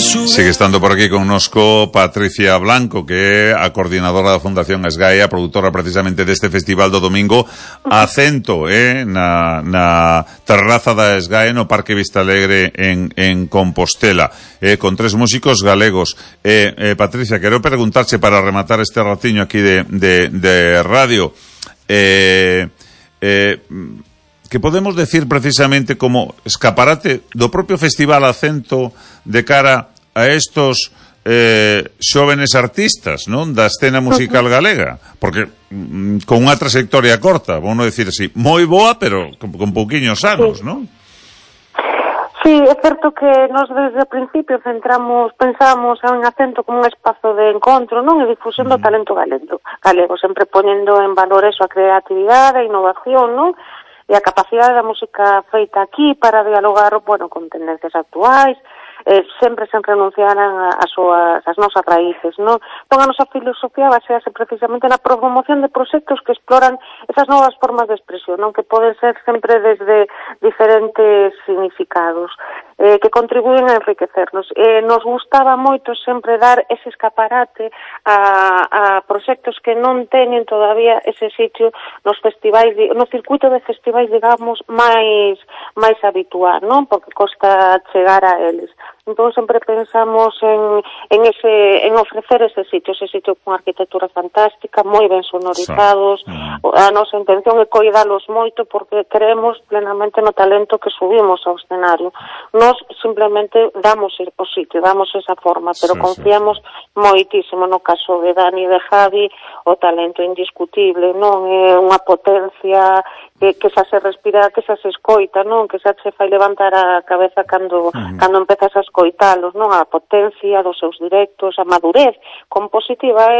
Sigue estando por aquí connosco Patricia Blanco, que é a coordinadora da Fundación Esgae, a produtora precisamente deste festival do domingo, Acento, na terraza da Esgae, no Parque Vista Alegre en Compostela, con 3 músicos galegos. Patricia, quero preguntarche para rematar este ratiño aquí de radio, que podemos decir precisamente como escaparate do propio Festival Acento de cara a estos xóvenes artistas, non, da escena musical galega, porque con unha trayectoria corta, vamos a decir así, moi boa, pero con pouquiños anos, non? Sí, é certo que nos desde o principio pensábamos en Acento como un espazo de encontro, non, e difusión do talento galego, sempre poñendo en valor eso, a creatividade, a innovación, non, e a capacidade da música feita aquí para dialogar, bueno, con tendencias actuais, sempre sen renunciar as nosas raíces, non? Entón, a nosa filosofía basease precisamente na promoción de proxectos que exploran esas novas formas de expresión, non? Que poden ser sempre desde diferentes significados, que contribuyen a enriquecernos. Nos gustaba moito sempre dar ese escaparate a proxectos que non teñen todavía ese sitio nos festivais, no circuito de festivais, digamos, máis habitual, non? Porque costa chegar a eles. Entón sempre pensamos en ofrecer ese sitio con arquitectura fantástica, moi ben sonorizados. A nosa intención é coidalos moito porque creemos plenamente no talento que subimos ao escenario. Nos simplemente damos o sitio, damos esa forma, pero confiamos moitísimo no caso de Dani e de Javi, o talento indiscutible, non? É unha potencia que xa se respira, que xa se escoita, non? Que xa se fai levantar a cabeza cando empezas a escoitalos, non? A potencia dos seus directos, a madurez compositiva,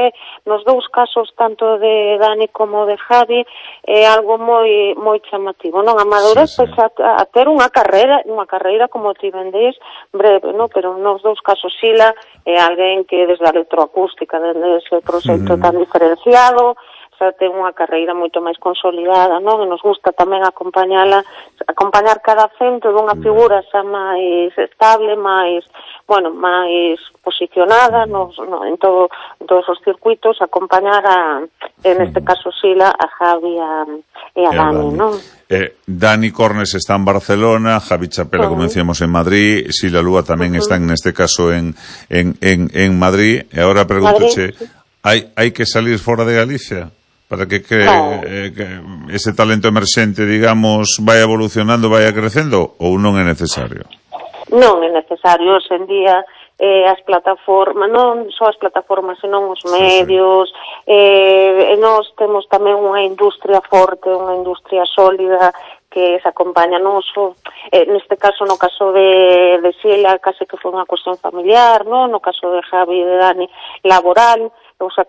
nos dous casos, tanto de Dani como de Javi, é algo moi chamativo, non? A madurez a ter unha carreira como ti vendéis breve, non? Pero nos dous casos Sila é alguén que desde a electroacústica, desde ese proxecto tan diferenciado, xa ten unha carreira moito máis consolidada, non? E nos gusta tamén acompañar cada Acento dunha figura xa máis estable, máis posicionada en todos os circuitos, acompañar en este caso Sila, a Javi e a Dani, non? Dani Cornes está en Barcelona, Javi Chapela, como decíamos, en Madrid, Sila Lúa tamén está en este caso en Madrid, e agora pregúntoche, hai que salir fora de Galicia para que ese talento emerxente, digamos, vai evolucionando, vai crecendo, ou non é necesario? Non é necesario, hoxe en día as plataformas, non só as plataformas, senón os medios, e nós temos tamén unha industria forte, unha industria sólida que se acompaña non só, neste caso, no caso de Sila, case que foi unha cuestión familiar, non? No caso de Javi e de Dani, laboral, o sea,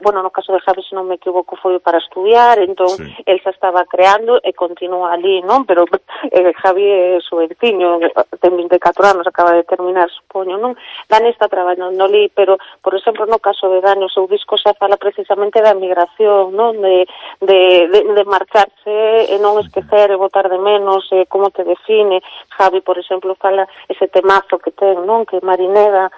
bueno, no caso de Javi, se non me equivoco, foi para estudiar, entón, el xa estaba creando e continúa ali, non? Pero Javi é suertiño, ten 24 anos, acaba de terminar, supoño, non? Dani está traballando ali, pero, por exemplo, no caso de Dani, o seu disco xa fala precisamente da migración, non? De marcharse e non esquecer e botar de menos, como te define. Javi, por exemplo, fala ese temazo que ten, non? Que Marineda,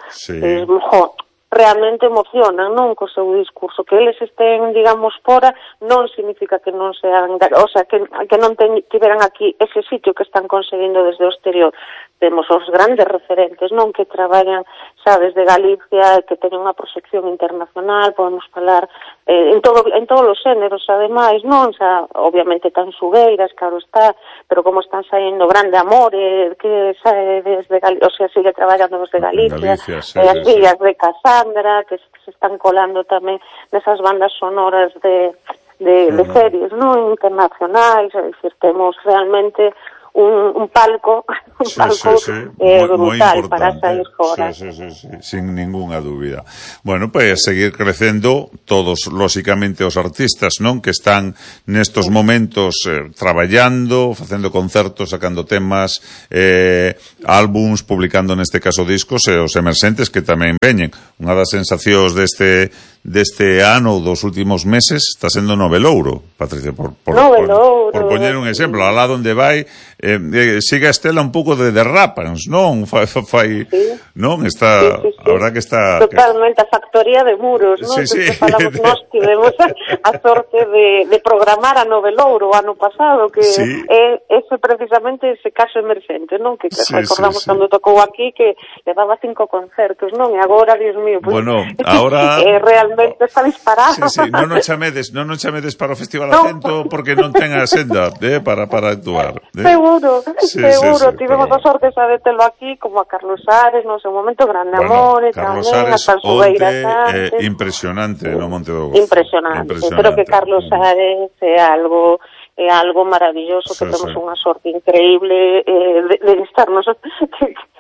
realmente emocionan, non, co seu discurso. Que eles estén, digamos, fora non significa que non sean, o sea, que non tiveran aquí ese sitio que están conseguindo desde o exterior. Temos os grandes referentes, non, que traballan, sabes, de Galicia, que teñen unha proxección internacional, podemos falar en todos os xéneros, ademais, non, xa, obviamente tan xugueiras, claro está, pero como están saindo Grande Amor, que sae desde Galicia, o sea, sigue traballando desde Galicia, as fillas de Casandra, que se están colando tamén nesas bandas sonoras de series, non, internacionais, é dicir, temos realmente un palco brutal para sair fora. Sí, sin ninguna dúbida. Bueno, pues seguir crecendo todos, lóxicamente, os artistas, non? Que están nestos momentos traballando, facendo concertos, sacando temas, álbums, publicando neste caso discos, e os emerxentes que tamén veñen. Unha das sensacións deste ano, dos últimos meses, está sendo Novelouro, Patricia, por poñer un exemplo, alá onde vai, sigue a estela un pouco de derrapans, non? Fai, non? Está, a verdad que está... Totalmente, a factoría de muros, non? Sí. Falamos nós, tivemos a sorte de programar a Novelouro o ano pasado, que é ese precisamente ese caso emerxente, non? Que recordamos cando tocou aquí, que levaba 5 concertos, non? E agora, Dios mío, pues, bueno, ahora... realmente está disparado. Sí, non nos chamedes para o Festival Acento porque non ten a senda para actuar. Seguro, tivemos a sorte de telo aquí, como a Carlos Ares, no seu momento, Grande Amores, Carlos tamén, Ares, a Salsubeira impresionante no Monte do Gozo. Impresionante, pero que Carlos Ares é algo maravilloso, que temos unha sorte increíble de estarnos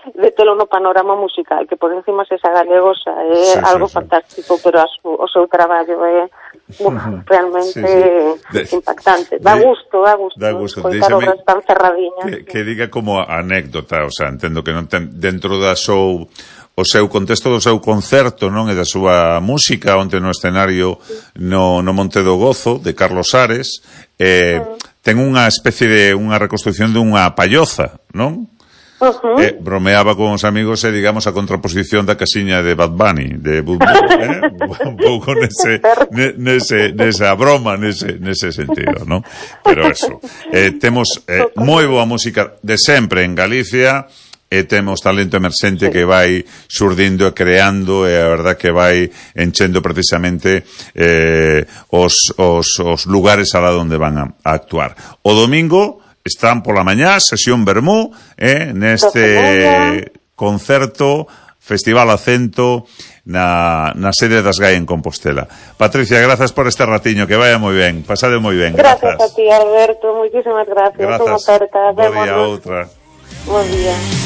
de telo no panorama musical, que por encima se esa galegosa é algo fantástico, pero o seu traballo é realmente impactante. Dá gusto coitar obras tan cerradiñas. Que diga como anécdota, o sea, entendo que non ten dentro da o seu contexto do seu concerto, non, e da súa música onte no escenario no Monte do Gozo de Carlos Ares, ten unha especie de unha reconstrucción dunha palloza, non? Bromeaba con os amigos e, digamos, a contraposición da casiña de Bad Bunny, de Bud un pouco nesa broma, nese sentido, non? Pero eso, temos moi boa música de sempre en Galicia, e temos talento emerxente que vai surdindo e creando, e a verdad que vai enchendo precisamente os lugares alá onde van a actuar. O domingo están pola mañá, sesión Vermú, neste concerto Festival Acento na sede das GAE en Compostela. Patricia, grazas por este ratiño, que vaya moi ben, pasade moi ben. Grazas a ti, Alberto, moitísimas gracias. Bo día, outra. Buen día.